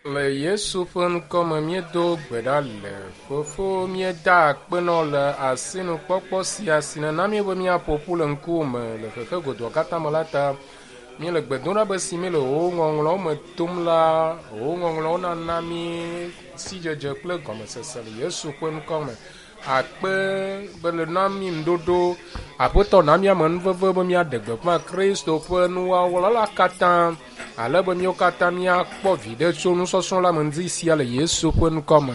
Le Yesu ƒe ŋkɔ me míedo gbe ɖa le. Fofo míeda akpe nɔ le asinukpɔkpɔ sia si nana mí be míaƒo ƒu le ŋkuwò me le xexe godoa katã me la ta. Míele gbe dom ɖa be si míele wò ŋɔŋlɔwo me tom la, wò ŋɔŋlɔwo nana mí sidzedze kple gɔmesese le Yesu ƒe ŋkɔ me. Akpe be le na mí ŋuɖoɖo. Aƒetɔ na míame nuveve be míaɖe gbeƒã Kristo ƒe nuwɔwɔ la katã ale be míawo katã míakpɔ viɖe tso nusɔsrɔ̃ la me ŋdi sia le Yesu ƒe ŋkɔ me.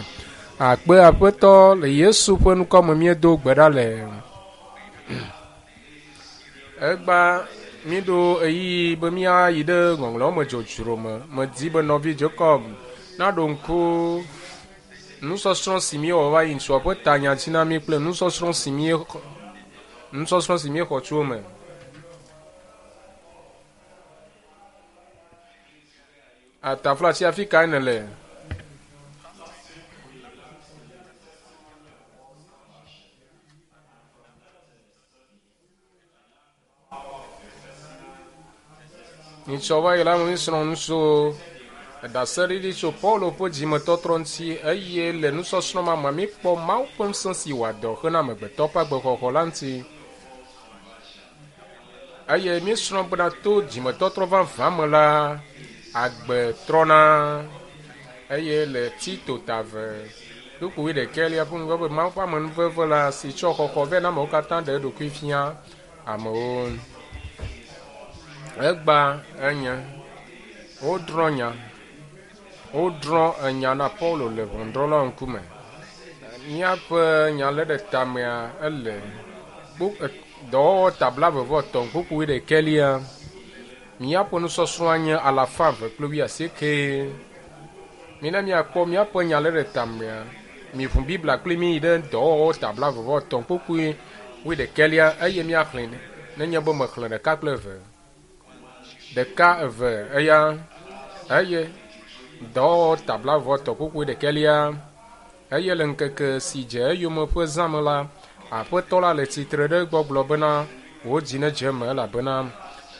Akpe Aƒetɔ le Yesu ƒe ŋkɔ me míedo gbe ɖa le. Egba míɖo ɣeyiɣi be míayi ɖe ŋɔŋlɔawo me dzodzro me. Medi be nɔvi Jacob naɖo ŋku nusɔsrɔ̃ si míewɔ va yi ŋutsua ƒe tanya dzi na mí kple nusɔsrɔ̃ si míexɔ nusɔsrɔ̃ si míexɔ tso eme. Ataflatsi afi kae nèle? Nyitsɔ va yi la míesrɔ̃ nu tso ɖaseɖiɖi tso Paulo ƒe dzimetɔtrɔ ŋuti eye le nusɔsrɔ̃ ma me míekpɔ Mawu ƒe ŋusẽ si wɔa dɔ hena amegbetɔ ƒe agbexɔxɔ la ŋuti. Eye míesrɔ̃ bena to dzimetɔtrɔ vavã me la, agbe trɔna. Eye le Tito ta eve kpukpui wuiɖekɛlia ƒe ŋgɔ be Mawu ƒe amenuveve la si tsɔ xɔxɔ vɛ na amewo katã ɖe eɖokui fia amewo. Egba enye wodrɔ̃ nya wodrɔ̃ enya na Paulo le ʋɔnudrɔ̃lawo ŋkume. Míaƒe nya lé ɖe tamea ele dɔwɔwɔ ta blaeve-vɔ-etɔ̃ kpukpui wuiɖekɛlia. Míaƒe nusɔsrɔ̃a nye alafa eve kple wuiasieke. Mina míakpɔ míaƒe nya lé ɖe tamea. Miʋu Biblia kpli mí yi ɖe dɔwɔwɔ ta blaeve-vɔ-etɔ̃ kpukpui wuiɖekɛlia eye míaxlẽe nenye be mexlẽ ɖeka kple eve. Ɖeka, eve, eya eye dɔwɔwɔ ta blaeve-vɔ-etɔ̃ kpukpui ɖekɛlia. Eye le ŋkeke si dze eyome ƒe zã me la, Aƒetɔ la le tsitre ɖe egbɔ gblɔ bena, Wò dzi nedze eme elabena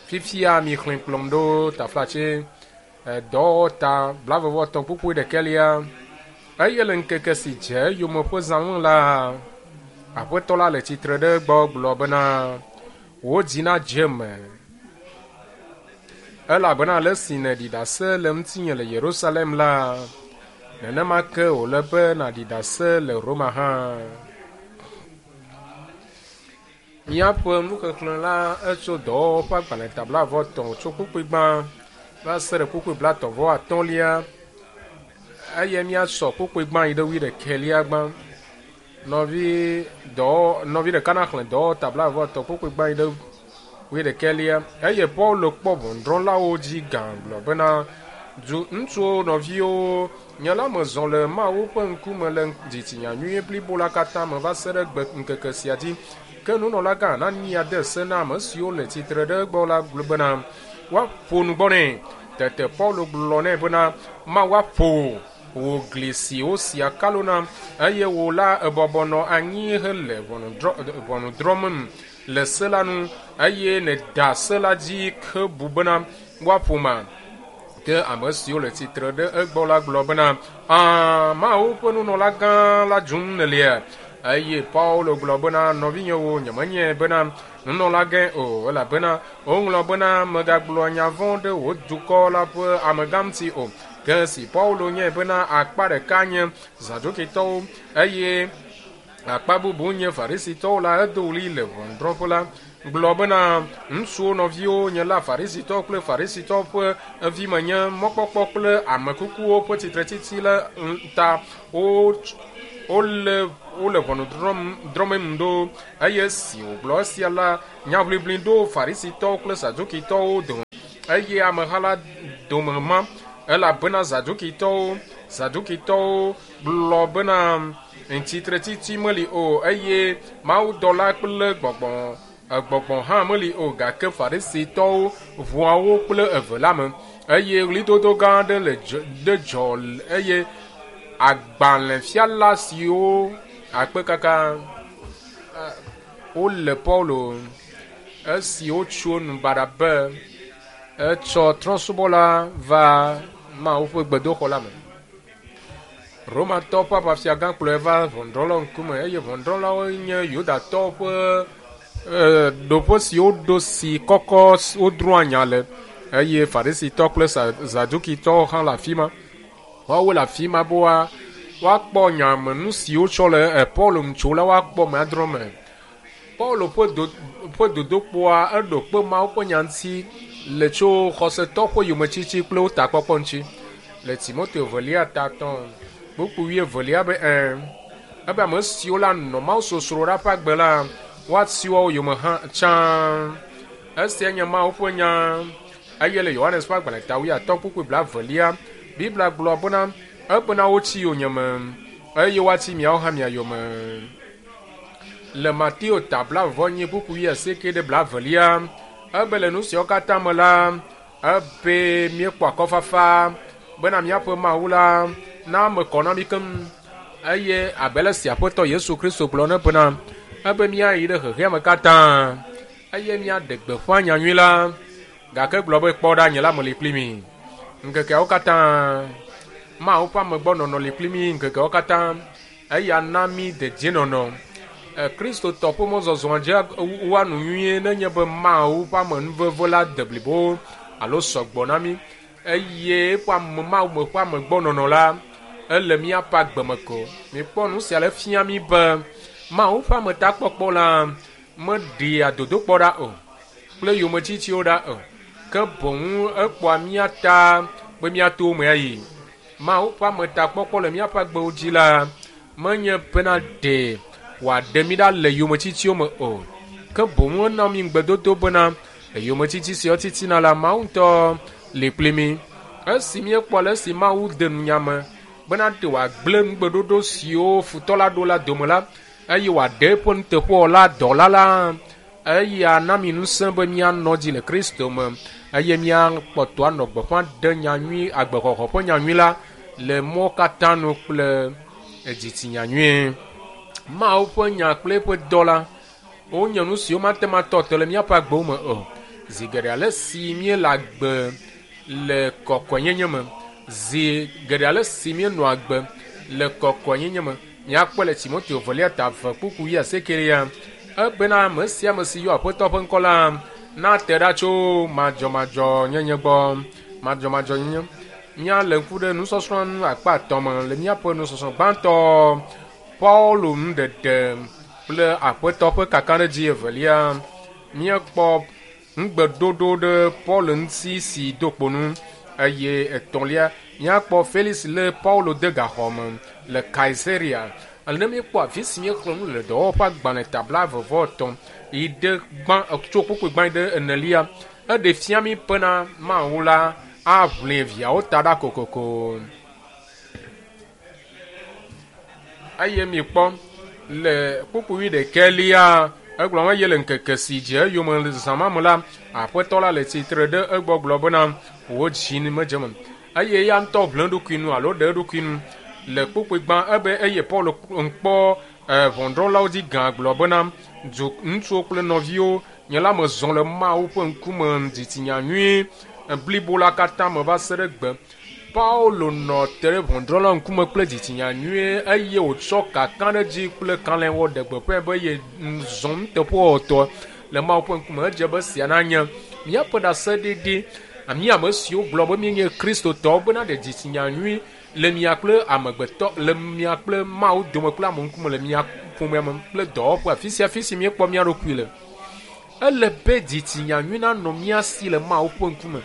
fifia mixlẽ kplɔm ɖo taflatse dɔwɔwɔ ta blaeve-vɔ-etɔ̃ kpukpui ɖekɛlia. Eye le ŋkeke si dze eyome ƒe zã me la, Aƒetɔ la le tsitre ɖe egbɔ gblɔ bena, Wò dzi nadze eme elabena ale si nèɖi ɖase le ŋutinye le Yerusalem la, nenema ke wòle be nàɖi ɖase le Roma hã. Míaƒe nuxexlẽ la etso dɔwɔwɔ ƒe agbalẽ ta blaeve-vɔ-etɔ̃ tso kpukpui gbã va se ɖe kpukpui blaetɔ̃-vɔ-atɔ̃lia eye míasɔ kpukpui gbã yi ɖe wuiɖekɛlia gbã. Nɔvi dɔ nɔvi ɖeka naxlẽ dɔwɔwɔ ta blaeve-vɔ-etɔ̃ kpukpui gbã yi ɖe wuiɖekɛlia. Eye Paulo kpɔ ʋɔnudrɔ̃lawo dzi gã gblɔ bena, Du ŋutsuwo nɔviwo, nye la mezɔ le Mawu ƒe ŋkume le dzitsinya nyui blibo la katã me va se ɖe gbe ŋkeke sia dzi. Ke nunɔlagã Anania de se na ame siwo le tsitre ɖe egbɔ la gblɔ bena woaƒo nu gbɔ nɛ. Tete Paulo gblɔ nɛ bena, Mawu aƒo wò gli si wosi akalo na, eye wò la èbɔbɔ nɔ anyi hele ʋɔnu drɔ̃mem le se la nu, eye nèda se la dzi hebu bena woaƒoma. Ke ame siwo le tsitre ɖe egbɔ la gblɔ bena, Ã, Mawu ƒe nunɔlagã la dzum nèlia? Eye Paulo gblɔ bena, Nɔvinyewo, nyemenyae bena nunɔlagãe o, elabena woŋlɔ bena, Mègagblɔ nya vɔ̃ ɖe wò dukɔ la ƒe amegã ŋuti o. Ke esi Paulo nyae bena akpa ɖeka nye Zadukitɔwo eye akpa bubu nye Farisitɔwo la, edo ɣli le ʋɔnudrɔ̃ƒe la gblɔ bena, Ŋutsuwo nɔviwo, nye la Farisitɔ kple Farisitɔ ƒe vi menye, mɔkpɔkpɔ kple ame kukuwo ƒe tsitretsitsi la ta wole wole ʋɔnu drɔ̃mem ɖo. Eye esi wògblɔ esia la, nyaʋiʋli ɖo Farisitɔwo kple Zadukitɔwo dome eye ameha la dome ma elabena Zadukitɔwo Zadukitɔwo gblɔ bena tsitretsitsi meli o eye mawudɔla kple gbɔgbɔ gbɔgbɔ hã meli o gake Farisitɔwo ʋua wo kple eve la me eye ɣlidodo gã aɖe le ɖe dzɔ eye agbalẽfiala siwo akpe kaka wole Paulo esi wotso nu baɖa be etsɔ trɔ̃subɔla va Mawu ƒe gbedoxɔ la me. Romatɔwo ƒe aʋafiagã kplɔe va ʋɔnudrɔ̃lawo ŋkume eye ʋɔnudrɔ̃lawo nye Yudatɔwo ƒe ɖoƒe si woɖo si kɔkɔ wodrɔ̃a nya le eye Farisitɔ kple Zadukitɔwo hã le afi ma. Woawo le afi ma be woakpɔ nya me nu si wotsɔ le Paulo ŋu tso la woakpɔ me adrɔ̃ me. Paulo ƒe dodokpoa eɖo kpe Mawu ƒe nya ŋuti le tso xɔsetɔ ƒe yometsitsi kple wo takpɔkpɔ ŋuti. Le Timoteo velia ta etɔ̃ kpukpui wuievelia be ebe ame siwo la nɔ Mawu sosro ɖa ƒe agbe la woati woawo yome hã tsã. Esia nye Mawu ƒe nya. Eye le Yohanes ƒe agbalẽ ta wuiatɔ̃ kpukpui blaevelia, Biblia gblɔ bena ebena wotsi yonyeme eye woati miawo hã mia yome. Le Mateo ta blaeve kpukpui wuiasieke ɖe blaevelia, ebe le nu siawo katã me la, ebe míekpɔ akɔfafa bena míaƒe Mawu la na ame kɔ na mí keŋ. Eye abe ale si Aƒetɔ Yesu Kristo gblɔ ne bena ebe míayi ɖe xexea me katã eye míaɖe gbeƒã nyanyui la, gake gblɔ be kpɔ ɖa nye la meli kpli mi ŋkekeawo katã. Mawu ƒe amegbɔnɔnɔ li kpli mi ŋkekeawo katã eya na mi dedienɔnɔ. Kristotɔ ƒe mɔzɔzɔa dze woa nu nyuie nenye be Mawu ƒe amenuveve la de blibo alo sɔgbɔ na mi eye eƒe ame Mawu me ƒe amegbɔnɔnɔ la ele míaƒe agbe me ko. Mikpɔ nu sia le fia mi be Mawu ƒe ametakpɔkpɔ la meɖea dodokpɔ ɖa o kple yometsitsiwo ɖa o, ke boŋ ekpɔa mía ta be míato me ayi. Mawu ƒe ametakpɔkpɔ le míaƒe agbewo dzi la menye bena ɖe wòaɖe mí ɖa le yometsitsiwo me o, ke boŋ ena mí ŋugbedodo bena le yometsitsi siawo titina la Mawu ŋutɔ li kpli mí. Esi míekpɔ ale si Mawu de nunya me bena ɖe wòagblẽ nugbeɖoɖo siwo futɔ la ɖo la dome la eye wòaɖe eƒe nuteƒewɔla dɔla la, eya na mi ŋusẽ be míanɔ dzi le Kristo me eye míakpɔtɔ anɔ gbeƒã ɖe nyanyui agbexɔxɔ ƒe nyanyui la le mɔ katã nu kple dzitsinya nyuie. Mawu ƒe nya kple eƒe dɔ la wonye nu siwo mate ŋu atɔ te le míaƒe agbewo me o. Zi geɖe ale si míele agbe le kɔkɔenyenye me, zi geɖe ale si míenɔ agbe le kɔkɔenyenye me, míakpɔe le Timoteo velia ta eve kpukpui wuiasiekelia ebena ame sia ame si yɔ Aƒetɔ ƒe ŋkɔ la nate ɖa tso madzɔmadzɔnyenye gbɔ. Madzɔmadzɔnyenye. Míalé ŋku ɖe nusɔsrɔ̃ nu akpa etɔ̃ me le míaƒe nusɔsrɔ̃ gbãtɔ Paulo nuɖeɖe kple Aƒetɔ ƒe kakaɖedzi evelia. Míekpɔ ŋugbedodo ɖe Paulo ŋuti si do kpo nu eye etɔ̃lia míakpɔ Felix lé Paulo de gaxɔ me le Kaisarea. Ne míekpɔ afi si míexlẽ nu le dɔwɔwɔ ƒe agbalẽ ta blaeve-vɔ-etɔ̃ yi ɖe gbã tso kpukpui gbã yi ɖe enelia, eɖe fia mí bena Mawu la aʋli viawo ta ɖa kokoko. Eye mikpɔ le kpukpui wuiɖekɛlia egblɔ be eye le ŋkeke si dze eyome le zã ma me la, Aƒetɔ la le tsitre ɖe egbɔ gblɔ bena wò dzi medze eme. Eye eya ŋutɔ ʋlẽ eɖokui nu alo ɖe eɖokui nu le kpukpui gbã ebe eye Paulo ŋkpɔ ʋɔnudrɔ̃lawo dzi gã gblɔ bena du ŋutsuwo kple nɔviwo nye la mezɔ le Mawu ƒe ŋkume dzitsinya nyui blibo la katã me va se ɖe gbe. Paulo nɔ te ɖe ʋɔnudrɔ̃la ŋkume kple dzitsinya nyuie eye wòtsɔ kakaɖedzi kple kalẽwɔ ɖe gbeƒãe be ye zɔ nuteƒewɔwɔtɔ le Mawu ƒe ŋkume. Edze be sia nanye míaƒe ɖaseɖiɖi mí ame siwo gblɔ be míenye Kristotɔwo bena ɖe dzitsinya nyui le mia kple amegbetɔ le mia kple Mawu dome kple ame ŋkume le mia ƒomea me kple dɔwɔƒe afi sia afi si míekpɔ mía ɖokui le. Ele be dzitsinya nyui nanɔ mía si le Mawu ƒe ŋkume.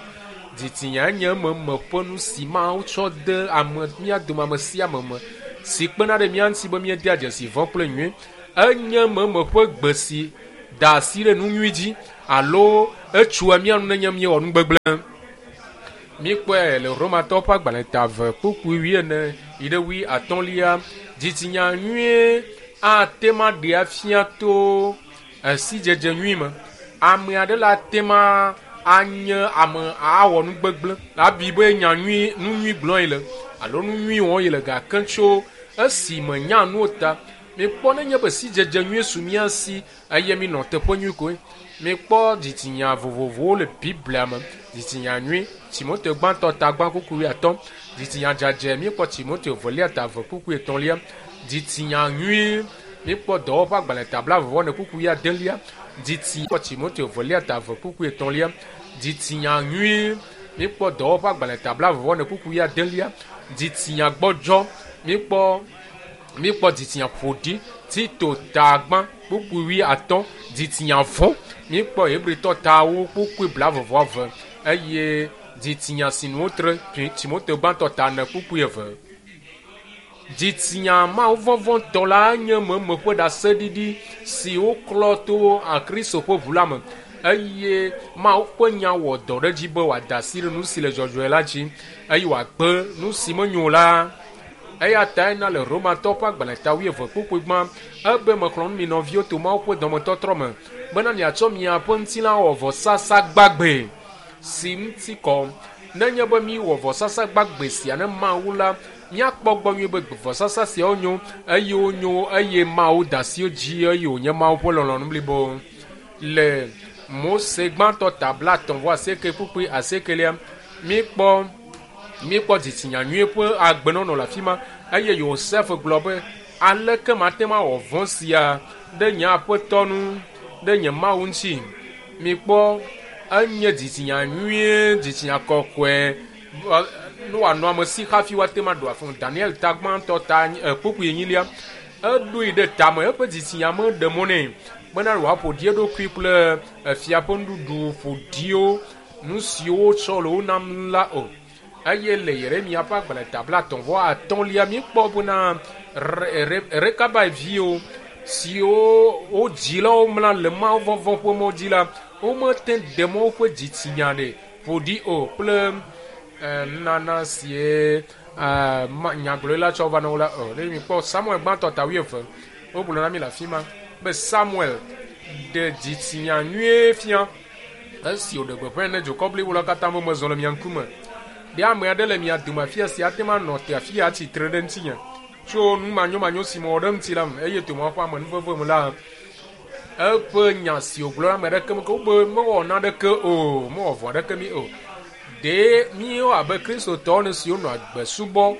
Dzitsinya nye ememe ƒe nu si Mawu tsɔ de ame mía dome ame sia ame me si kpena ɖe mía ŋuti be míedea dzesi vɔ̃ kple nyui. Enye ememe ƒe gbe si da asi ɖe nu nyui dzi alo etsoa mía nu nenye míewɔ nu gbegblẽ. Míekpɔe le Romatɔwo ƒe agbalẽ ta eve kpukpui wuiene yi ɖe wuiatɔ̃lia. Dzitsinya nyuie ate ŋu aɖee afia to sidzedze nyui me. Ame aɖe la ate ŋu anye ame awɔ nu gbegblẽ abi be nya nyui nu nyui gblɔm yele alo nu nyui wɔm yele gake tso esi menya nuwo ta. Mikpɔ nenye be sidzedze nyui su mía si eye minɔ teƒe nyui koe. Mikpɔ dzitsinya vovovowo le Biblia me. Dzitsinya nyui, Timoteo gbãtɔ ta gbã kpukpui wuiatɔ̃. Dzitsinya dzadzɛ, míekpɔ Timoteo velia ta eve kpukpui etɔ̃lia. Dzitsinya nyui, míekpɔ Dɔwɔwɔ ƒe agbalẽ ta blaeve-vɔ-ene kpukpui wuiadelia. Dzitsi kpɔ Timoteo velia ta eve kpukpui etɔ̃lia. Dzitsinya nyui, míekpɔ Dɔwɔwɔ ƒe agbalẽ ta blaeve-vɔ-ene kpukpui wuiadelia. Dzitsinya gbɔdzɔ, míekpɔ míekpɔ dzitsinya ƒoɖi, Tito ta gbã kpukpui wuiatɔ̃. Dzitsinya vɔ̃, míekpɔ Hebritɔ tawo kpukpui blaeve-vɔ-eve eye dzitsinya si nu wotre Timoteo gbãtɔ ta ene kpukpui eve. Dzitsinya Mawu vɔvɔ̃tɔ la nye meme ƒe ɖaseɖiɖi si woklɔ to Kristo ƒe ʋu la me eye Mawu ƒe nya wɔ dɔ ɖe edzi be wòada asi ɖe nu si le dzɔdzɔe la dzi eye wòagbe nu si menyo o la. Eya tae na le Romatɔwo ƒe agbalẽ ta wuieve kpukpui gbã ebe mexlɔ̃ nu mi nɔviwo to Mawu ƒe dɔmetɔtrɔ me bena miatsɔ miaƒe ŋutilã awɔ vɔsasa gbagbe si ŋuti kɔ. Nenye be míwɔ vɔsasa gbagbe sia ne Mawu la, míakpɔ gbɔ nyuie be vɔsasa siawo nyo eye wonyo eye Mawu da asi wo dzi eye wònye Mawu ƒe lɔlɔ̃nu blibo. Le Mose gbãtɔ ta blaetɔ̃ vɔ asieke kpukpui asiekelia, míekpɔ míekpɔ dzitsinya nyui ƒe agbenɔnɔ le afi ma eye Yosef gblɔ be, Aleke mate ŋu awɔ vɔ̃ sia ɖe nye aƒetɔ nu, ɖe nye Mawu ŋuti? Mikpɔ, enye dzitsinya nyuie, dzitsinya kɔkɔe, ne wòanɔ ame si hafi woate ŋu aɖu afɔ. Daniel ta gbãtɔ ta kpukpui enyilia, eɖoe ɖe tame, eƒe dzitsinya meɖe mɔ nɛ bena wòaƒo ɖi eɖokui kple efia ƒe nuɖuɖu ƒoɖiwo, nu siwo wotsɔ le wo nam la o. Eye le Yeremia ƒe agbalẽ ta blaetɔ̃ vɔ atɔ̃lia, míekpɔ bena Rekabai viwo siwo wo dzilawo mla le Mawu vɔvɔ̃ ƒe mɔ dzi la, womete ɖe mɔ woƒe dzitsinya ɖe ƒo ɖi o kple nunana sie nyagblɔɖila tsɔ va na wo la o. Ne mikpɔ Samuel gbãtɔ ta wuieve, wogblɔ na mi le afi ma be Samuel ɖe dzitsinya nyuie fia esi wòɖe gbeƒãe ne dukɔ blibo la katã be mezɔ le mia ŋkume. Ɖe ame aɖe le mia dome afia si ate ŋu anɔ te afi ya tsitre ɖe ŋutinye tso nu manyomanyo si mewɔ ɖe eŋuti la me eye to Mawu ƒe amenuveve me la, eƒe nya si wògblɔ la ame aɖeke meke wobe mewɔ naneke o, mewɔ vɔ̃ aɖeke mi o. Ɖe míwo abe Kristotɔwo ene siwo nɔ agbe subɔ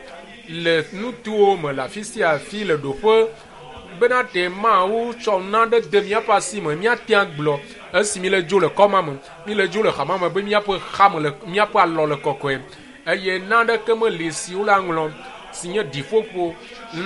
le nutowo me le afi sia afi le ɖoƒe bena ɖe Mawu tsɔ nane de míaƒe asi me, míate agblɔ esi míle dzo le kɔma me, míle dzo le xama me be míaƒe xame le míaƒe alɔ le kɔkɔe eye naneke meli si wole aŋlɔ si nye ɖiƒoƒo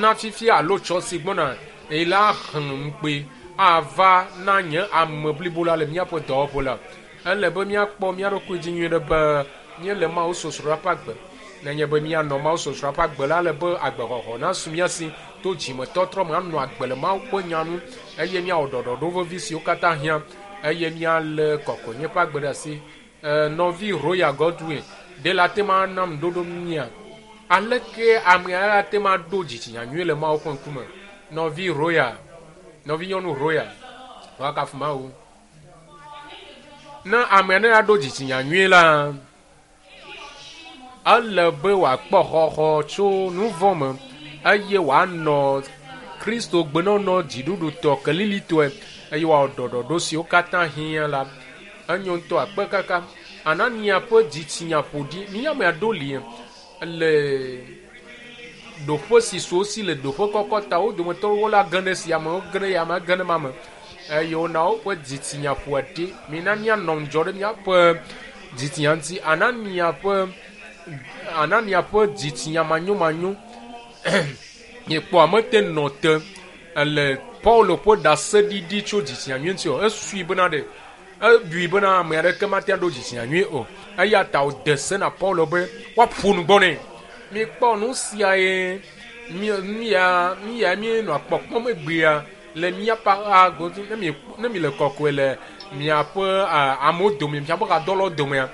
na fifia alo tsɔ si gbɔna eye la xlẽ ŋukpe ava na nye ame blibo la le míaƒe dɔwɔƒe la. Ele be míakpɔ mía ɖokui dzi nyuie ɖe be míele Mawu sosroa ƒe agbe. Nenye be míanɔ Mawu sosroa ƒe agbe la, ele be agbexɔxɔ nasu mía si to dzimetɔtrɔ me anɔ agbe le Mawu ƒe nya nu eye míawɔ ɖɔɖɔɖo vevi siwo katã hiã eye míalé kɔkɔenye ƒe agbe ɖe asi. Nɔvi Roya Godwin, ɖe la te ma nam ŋuɖoɖo mía? Aleke ame aɖe ate ŋu aɖo dzitsinya nyui le Mawu ƒe ŋkume? Nɔvi Roya, nɔvinyɔnu Roya, woakafu Mawu. Ne ame aɖe aɖo dzitsinya nyui la, ele be wòakpɔ xɔxɔ tso nu vɔ̃ me eye wòanɔ Kristo gbenɔnɔ dziɖuɖutɔ kelilitɔe eye wòawɔ ɖɔɖɔɖo siwo katã hiã la. Enyo ŋutɔ akpe kaka. Anania ƒe dzitsinya ƒo ɖi. Mi ame aɖewo li le ɖoƒe si su wo si le ɖoƒe kɔkɔ ta. Wo dometɔ wo la ge ɖe sia me, woge ɖe ya me, ge ɖe ma me eye wona woƒe dzitsinya ƒoa ɖi. Mina míanɔ ŋudzɔ ɖe míaƒe dzitsinya ŋuti. Anania ƒe Anania ƒe dzitsinya manyomanyo miekpɔ mete nɔ te le Paulo ƒe ɖaseɖiɖi tso dzitsinya nyui ŋuti o. Esui bena ɖe ebui bena ame aɖeke mate ŋu aɖo dzitsinya nyui o. Eya ta wòde se na Paulo be woaƒo nu gbɔ nɛ. Mikpɔ nu siae mía mía míenɔa kpɔkpɔm egbea le míaƒe agodo ne mi ne mi le kɔkɔe le miaƒe amewo dome, miaƒe hadɔlawo domea.